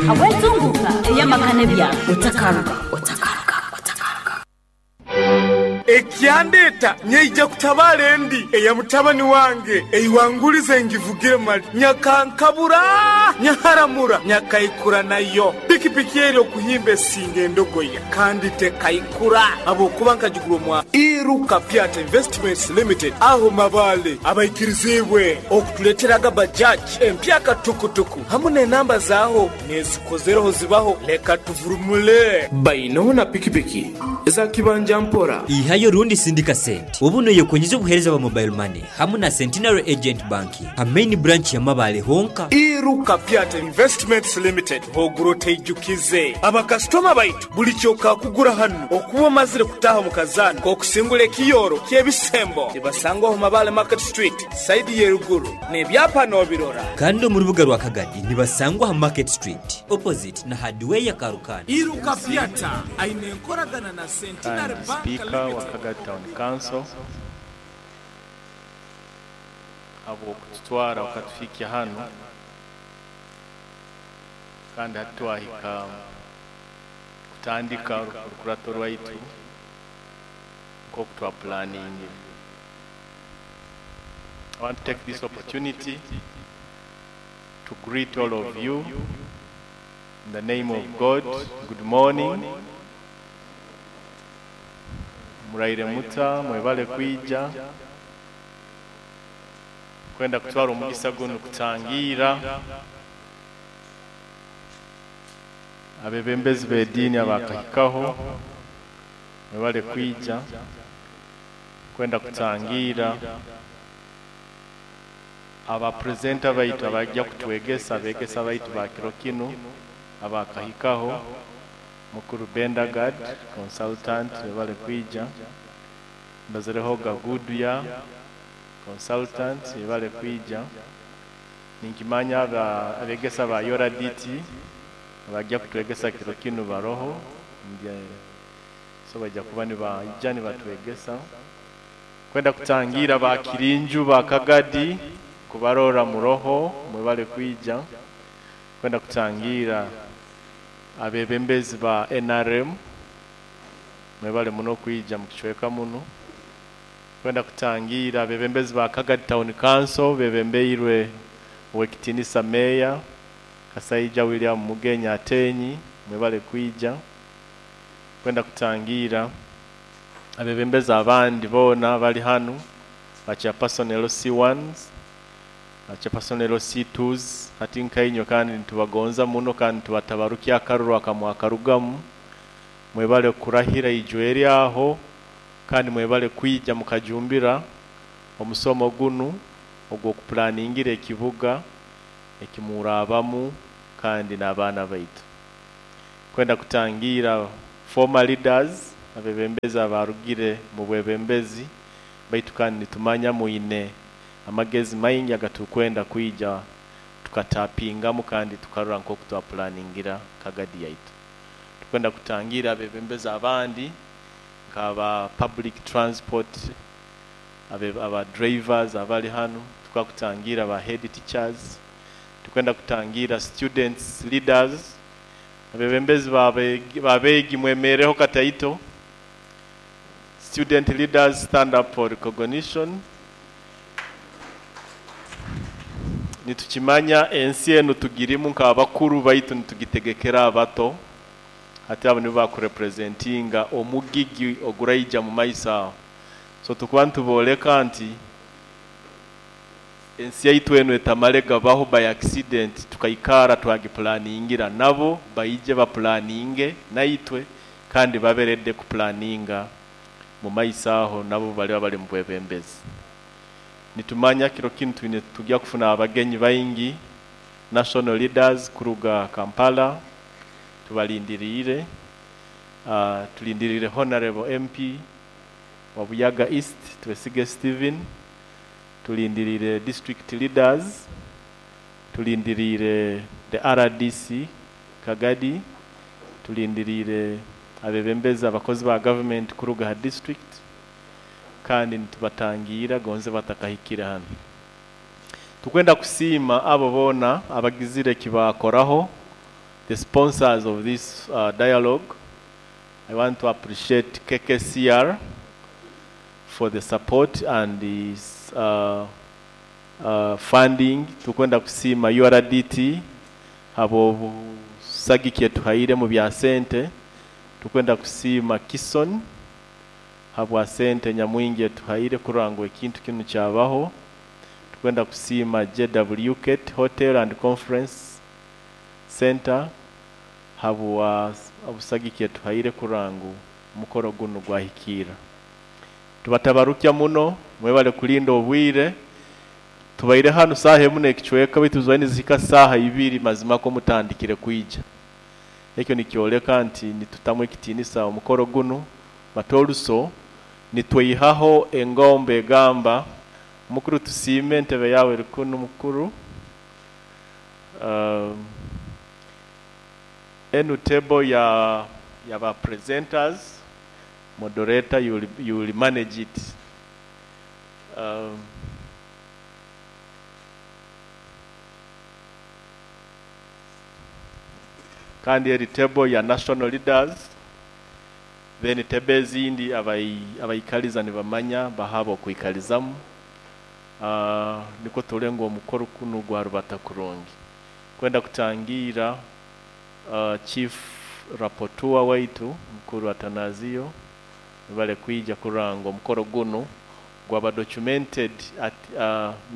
Habw'entunguuka ey'amaka n'ebyaro. Otakaruga, otakaruga, otakaruga. Ekyandeeta nyaija kutabaara endi eya mutabani wange eiwangulize ngivugire mali nyakankabura nyaharamura nyakaikura nayo. Pikipiki eri okuhimba esinga endogoya kandi tekaikura habwokuba nkagigura omwa Iruka Pyata Investments Limited aho Mabale abaikiriziibwe okutuleeteraga Bajaj empyaka tukutuku hamu n'enamba zaaho n'ezikozereho zibaho leka tuvurumule. Bainoho na pikipiki eza kibanja mpora. Ihayo rundi sindika sente obu noyekonyeza obuhereza bwa mobile money hamu na Centenary Agent Banking ha main branch ya Mabale honka. Iruka Pyata Investments Limited ogura oteijukize. Abakasitoma baitu buli kyokakugura hanu okuba omazire kutaaha omu kazaano k'okusingura ekiyooro ky'ebisembo nibasangwa omu Mabale Market Street sayidi y'eruguru n'ebyapa nobirora. Kandi omu rubuga rwa Kagadi nibasangwa ha Market Street opposite na Hardware Karukanda. Iruka Pyata aine enkoragana na Centenary Kandi Bank Sipiika wa Limited. Kagadi Town Council habw'okututwara okatuhikya hanu kandi hati twahika kutandika orukurato rwaitu nk'oku twapulaningire. I want to take this opportunity to greet all of you in the name of God. Good morning. Muraire muta, mwebale kwija kwenda kutwara omugisa gunu kutangiira abebembezi b'ediini abakahikaho, mwebale kwija kwenda kutangiira abapresenta baitu abajja kutwegesa, abegesa baitu ba kiro kinu abakahikaho, Mukuru Bendagard consultant webale kwija, mbazireho Gaguduya consultant webale kwija, ninkimanya abegesa ba Yora DT abajja kutwegesa kiro kinu baroho, so bajja kuba nibaija nibatwegesa. Kwenda kutangira ba Kirinju ba Kagadi kubarora muroho mwebale kwija, kwenda kutangira abebembezi ba NRM mwebale muno kwija mukicweka muno, kwenda kutangira abebembezi ba Kagadi Town Council bebembeirwe Owekitinisa Meya Kasaija William Mugenya Atenyi mwebale kwija, kwenda kutangira abebembezi abandi boona bali hanu ba chairperson LC1s, ba chairperson LC2s, hati nkainywe kandi nitubagonza muno kandi nitubatabarukya akaruru akamwakarugamu, mwebale kurahira ijwe eri aho kandi mwebale kwija mukajumbira omusomo gunu ogw'okupulaningira ekibuga ekimurabamu kandi n'abaana baitu. Kwenda kutangira former leaders abebembezi abarugire mu bwebembezi baitu kandi nitumanya mwine amagezi maingi agatukwenda kwija tukatapingamu kandi tukarora nk'oku twapulaningira Kagadi yaitu. Tukwenda kutangira abebembezi abandi nk'aba public transport, aba drivers abali hanu, tukakutangira ba head teachers, tukwenda kutangira students leaders, abebembezi babeegi mwemereho kataito. Student leaders stand up for recognition. Nitukimanya ensi enu tugirimu nk'abakuru baitu nitugitegekera abato, hati abo nibo bakurepresentinga omugigi oguraija mu maiso aho. So tukuba nitubooleka nti ensi yaitu enu etamale gabaho by accident, tukaikara twagipulaningira nabo baije bapulaninge naitwe kandi baberedde kupulaninga mu maiso aho nabo baliba bali mu bwebembezi. Nitumanya kiro kinu twine tujya kufuna abagenyi baingi, national leaders kuruga Kampala, tubalindiriire. Tulindiriire Honorable MP wa Buyaga East Twesige Stephen, tulindiriire district leaders, tulindiriire the RDC Kagadi, tulindiriire abebembezi abakozi ba government kuruga ha district, kandi nitubatangira gonze batakahikire hano. Tukwenda kusiima abo boona abagizire ekibakoraho the sponsors of this dialogue. I want to appreciate KKCR for the support and the funding. Tukwenda kusiima URDT abo busagiki etuhaire mu bya sente. Tukwenda kusiima Kison habwa sente nyamwingi etuhaire kurora ngu ekintu kinu kyabaho. Tukwenda kusiima JWK Hotel and Conference Center habwa obusagiki etuhaire kurora ngu omukoro gunu gwahikira. Tubatabarukya muno, mwebale kulinda obwire. Tubaire hanu saaha emu n'ekicweka, baitu tubaire nizihika saaha ibiri mazima ko mutandikire kwija. Ekyo nikyoleka nti nitutamu ekitiinisa omukoro gunu, but also nitweihaho engombe egamba mukuru tusiime entebe yawe eri kunu mukuru. Enu table ya ba presenters, moderator, you will manage it. Kandi eri table ya national leaders, then table ezindi abaikaliza nibamanya bahaba okuikalizamu. Niko tulengo omukoro kunu gwa rubata kurungi. Kwenda kutangira chief rapporteur waitu mukuru Atanazio bale kwija kuranga omukoro gunu gwaba documented at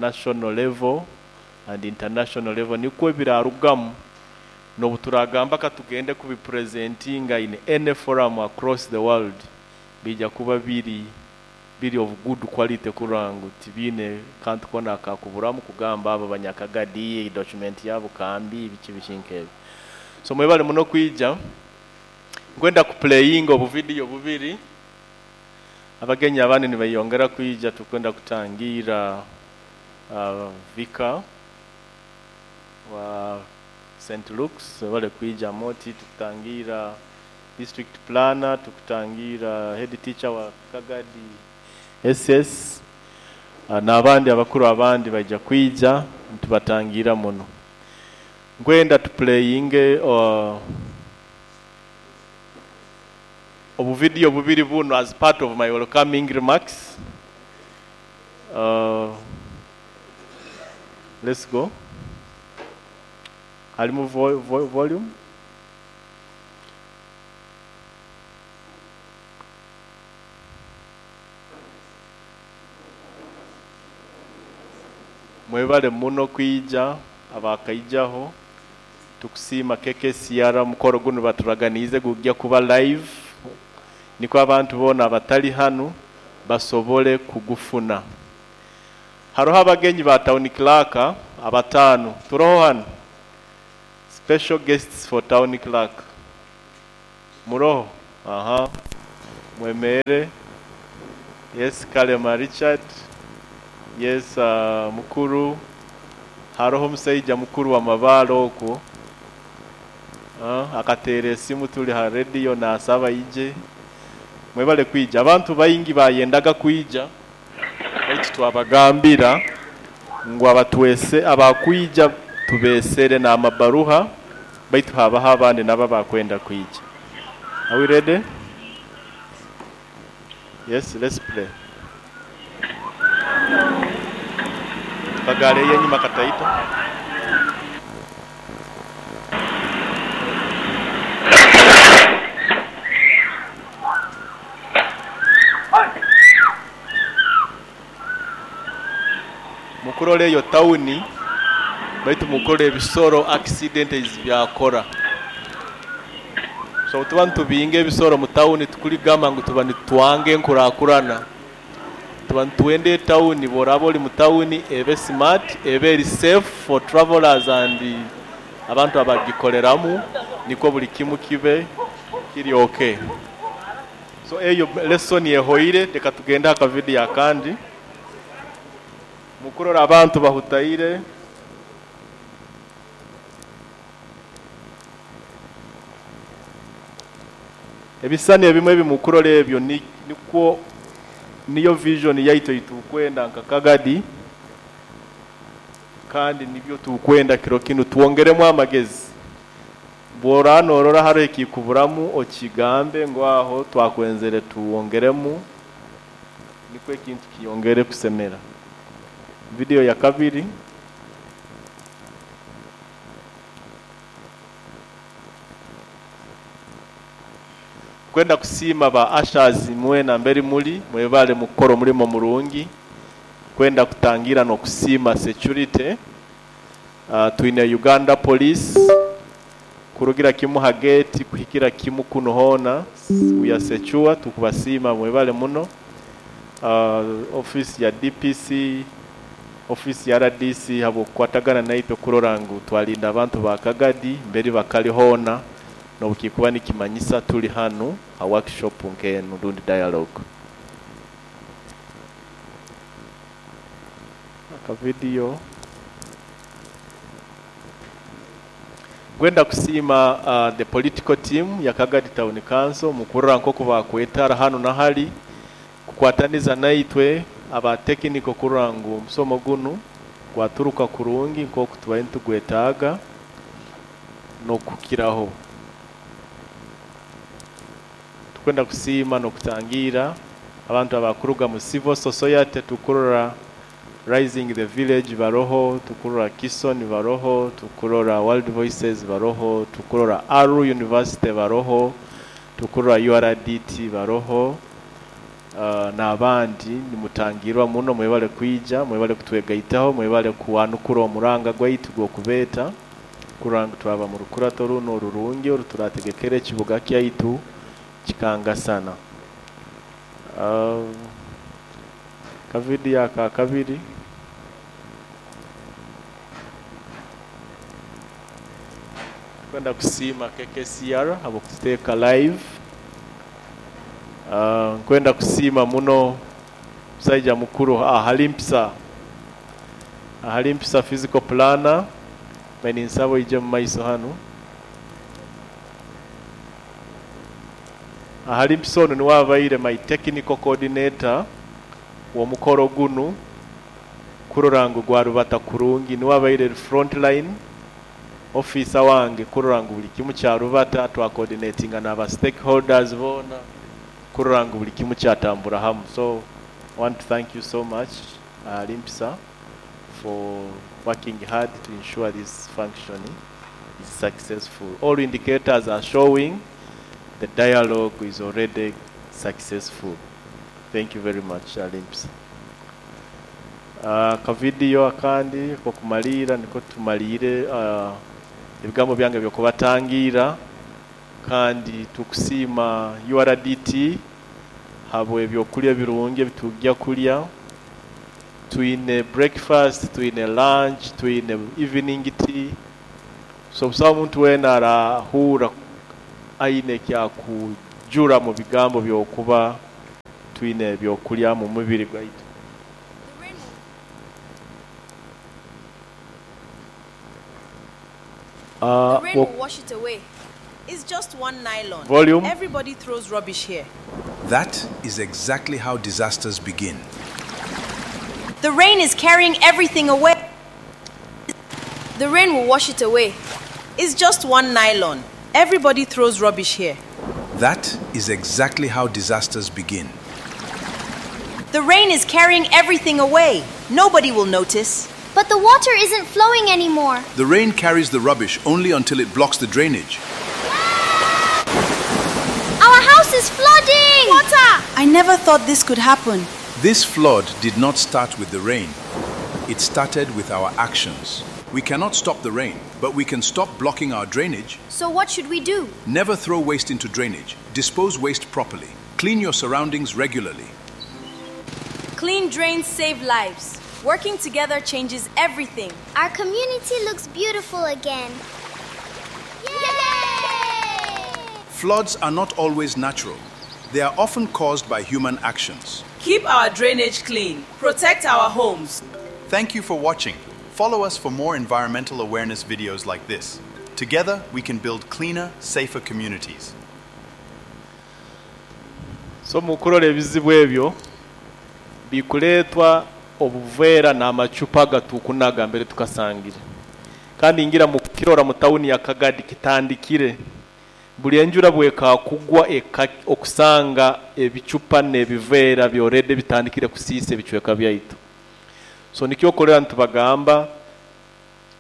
national level and international level, nikwo birarugamu nobuturagamba katugende kubipresentinga in any forum across the world, bija kuba biri of good quality kurangu tibine kantu kona akakuburamu kugamba abo banyakagadi document yabo kambi biki bishinke. So mwebale muno kwija. Nkwenda kuplayinga obu video bubiri. Abagenyi abandi nibayongera kwija, tukwenda kutangira Vika wa St. Luke's bale kwija moti, tukutangira district planner, tukutangira head teacher wa Kagadi SS, n'abandi abakuru abandi bajja kwija, tubatangira muno. Nkwenda tuplayinge obu video bubiri buno as part of my welcoming remarks. Let's go. Halimu volume. Mwebale muno kwija abakaijaho, tukusiima KKCR mukoro guno baturaganize gujja kuba live, niko abantu bona abatali hanu basobole kugufuna. Haroho abagenyi ba town clerk abatano turoho hano, special guests for town clerk muroho. Aha, mwemere. Yes, Kalema Richard. Yes, mukuru. Haroho omusaija mukuru wa mabalo okwo. Akateera esimu tuli ha radio nasaba ije. Mwebale kwija. Abantu baingi bayendaga kwija, baitu twabagambira ngu abatwese abakwija tubesere n'amabaruha, baitu habaho abandi nabo bakwenda kwija. Are we ready? Yes, let's play. Kagale yenyuma kataita. Mukurole eyo tawuni, baitu mukore ebisoro accident byakora. So tuba ntubinge ebisoro mu tawuni tukuligamba ngu tuba nitwange enkurakurana. Tuba nitwende tawuni, boraba oli mu tawuni ebe smart, ebe eri safe for travelers and abantu abagikoreramu, niko buli kimu kibe kiri okay. So eyo lesson yehoire, reka tugende aka video akandi. Mukurora abantu bahutaire. Ebisani ebimwe ebimukurora ebyo nikwo niyo vision yaito itukwenda nka Kagadi, kandi nibyo tukwenda kiro kinu tuwongeremu amagezi. Bwora norora haro ekikuburamu okigambe ngu aho twakwenzere tuwongeremu, nikwo ekintu kiyongere kusemera. Video ya kabiri. Kwenda kusiima ba ushers mwena mberi muli mwebale mukukora omulimo murungi. Kwenda kutangira n'okusiima security. Twine Uganda Police kurugira kimu ha gate kuhikira kimu kuno hona, we are secure, tukubasiima mwebale muno. Office ya DPC, office ya RDC habwokukwatagana naitwe kurora ngu twalinda abantu ba Kagadi mberi bakali hona, nobukikuba nikimanyisa tuli hanu ha workshop nk'enu rundi dialogue. Aka video. Gwenda kusiima the political team ya Kagadi Town Council mukurora nk'oku bakwetara hanu na hali kukwataniza naitwe aba technical kurora ngu omusomo gunu gwaturuka kurungi nk'oku tubaire nitugwetaaga n'okukiraho. Tukwenda kusiima n'okutangira abantu abakuruga mu civil society, tukurora Rising the Village baroho, tukurora Kison baroho, tukurora World Voices baroho, tukurora Aru University baroho, tukurora URDT baroho, n'abandi nimutangirwa muno. Mwebale kwija, mwebale kutwegaitaho, mwebale kuwanukura omuranga gwaitu gw'okubeeta kurora ngu twaba mu rukurato runo orurungi oruturategekera ekibuga kyaitu kikangasana. Kavidiyo aka kabiri. Kwenda kusiima KKCR habwokututeeka live. Nkwenda kusiima muno musaija mukuru Ahalimpisa. Ahalimpisa physical planner, beninsaba ije mu maiso hanu. Ahalimpisa ono niwe abaire my technical coordinator w'omukoro gunu kurora ngu gwarubata kurungi, niwe abaire front line officer wange kurora ngu buli kimu kyarubata, twacoordinatinga n'aba stakeholders boona kurora ngu buli kimu kyatambura hamu. So I want to thank you so much, Limpisa, for working hard to ensure this function is successful. All indicators are showing the dialogue is already successful. Thank you very much, Limpisa. Kavidiyo akandi kokumalira niko tumalire ebigambo byange byokubatangira, kandi tukusiima URDT habwe ebyokulya birungi ebitujja kulya. Twine breakfast, twine lunch, twine evening tea. So busaho omuntu weena arahura aine ekyakujura mu bigambo byokuba twine ebyokulya mu mubiri gwaitu. The rain will wash it away. It's just one nylon. Volume. Everybody throws rubbish here. That is exactly how disasters begin. The rain is carrying everything away. The rain will wash it away. It's just one nylon. Everybody throws rubbish here. That is exactly how disasters begin. The rain is carrying everything away. Nobody will notice. But the water isn't flowing anymore. The rain carries the rubbish only until it blocks the drainage. Our house is flooding! Water! I never thought this could happen. This flood did not start with the rain. It started with our actions. We cannot stop the rain, but we can stop blocking our drainage. So what should we do? Never throw waste into drainage. Dispose waste properly. Clean your surroundings regularly. Clean drains save lives. Working together changes everything. Our community looks beautiful again. Yay! Floods are not always natural. They are often caused by human actions. Keep our drainage clean. Protect our homes. Thank you for watching. Follow us for more environmental awareness videos like this. Together, we can build cleaner, safer communities. So mukurora ebizibu ebyo bikuleetwa obuveera n'amacupa gatukunaga mbere tukasangire, kandi ngira kukirora mu tawuni ya Kagadi kitandikire. Buli enjura bwekakugwa eka okusanga ebicupa n'ebiveera byorede bitandikire kusiisa ebicweka byaitu. So nikyo okorera ntubagamba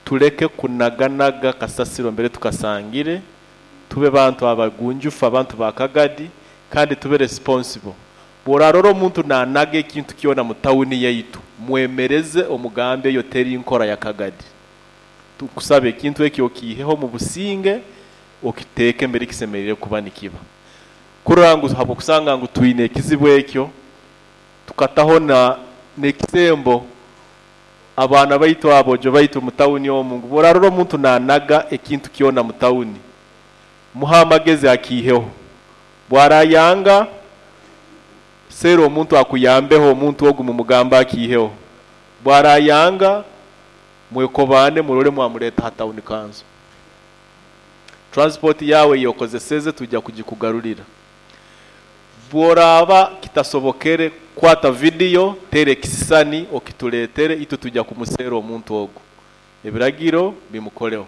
tuleke kunaganaga kasasiro mbere tukasangire, tube bantu abagunjufu, abantu ba Kagadi, kandi tube responsible. Bworarora omuntu nanaga ekintu kyona mu tawuni yaitu, mwemereze omugambe eyo teri nkora ya Kagadi. Tukusaba ekintu ekyo okiiheho mu businge, okiteeke mbere kisemerire kuba nikiba. Kurora ngu habwokusanga ngu twine ekizibu ekyo, tukataho na n'ekisembo abaana baitu abojo baitu mu tawuni omu ngu bworarora omuntu nanaga ekintu kyona mu tawuni, muha amagezi akiiheho. Bwarayanga seera omuntu akuyambeho, omuntu ogu mumugamba akiiheho. Bwarayanga mwekobane murole mwamuleta ha tawuni kanso. Transport yawe yokozeseze tujja kugikugarurira. Bworaba kitasobokere kwata video tere ekisisani okituletere, itwe tujja kumuseera omuntu ogu. Ebiragiro bimukoleho.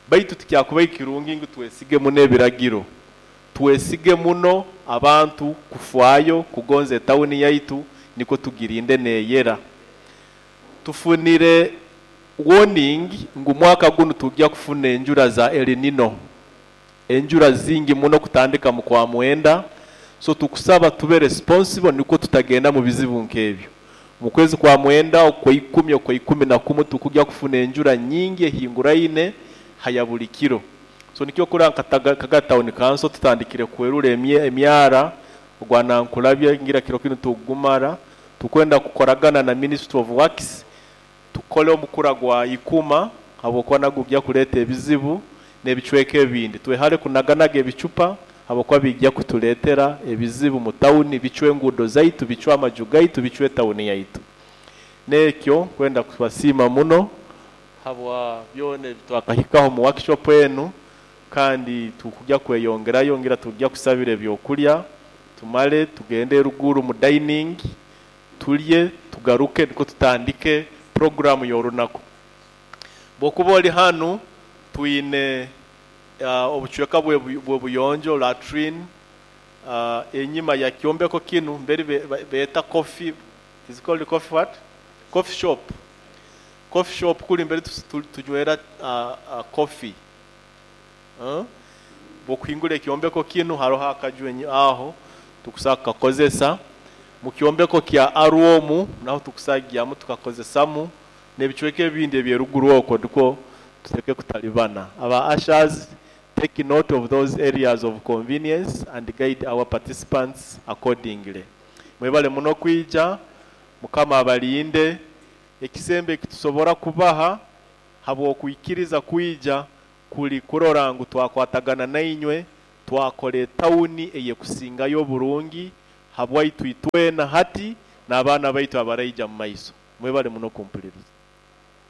Baitu tikyakuba ekirungi ngu twesige muno ebiragiro. Twesige muno abantu kufwayo kugonza etawuni yaitu niko tugirinde neyera. Tufunire warning ngu mwaka guno tujja kufuna enjura za El Nino. Enjura zingi muno kutandika mu kwa mwenda. So tukusaba tube responsible niko tutagenda mu bizibu nk'ebyo. Mu kwezi kwa mwenda okwa 10 okwa 11 tukujja kufuna enjura nyingi ehinguraine haya buli kiro. So nikyo kura Kaga Town Council tutandikire kwerura emyara ogwanankulabya ngira kiro kino tugumara tukwenda kukoragana na Ministry of Works tukole omukura gwa ikuma habwokuba nagwo kuleta ebizibu n'ebicweka ebindi. Twehale kunaganaga ebicupa habwokuba bijja kutuletera ebizibu mu tawuni, bicwe enguudo zaitu, bicwe amaju gaitu, bicwe tawuni yaitu. Nekyo kwenda kubasiima muno habwa byona ebitwakahikaho mu workshop enu, kandi tukujja kweyongerayo ngira tujja kusabira ebyokulya tumale tugende ruguru mu dining tulye tugaruke niko tutandike programu y'orunaku. Bwokuba oli hanu twine obucweka bw'obuyonjo latrine enyima ya kyombeko kinu mberi beeta coffee, is called coffee what? Coffee shop. Coffee shop kuli mberi tunywera coffee. Bwokuhingura ekyombeko kinu haroho akaju aho tukusaka kakozesa. Mu kyombeko kya Arwomu naho tukusagyamu tukakozesamu n'ebicweka ebindi ebyeruguru okwo ndiko tuteke kutalibana. Aba ushers take note of those areas of convenience and guide our participants accordingly. Mwebale muno kwija, Mukama abalinde. Ekisembe kitusobora kubaha habwokwikiriza kwija kuli kurora ngu twakwatagana nainywe, twakora etawuni eyekusingayo oburungi habwaitu itwena hati n'abaana baitu abaraija mu maiso. Mwebale muno kumpuliriza.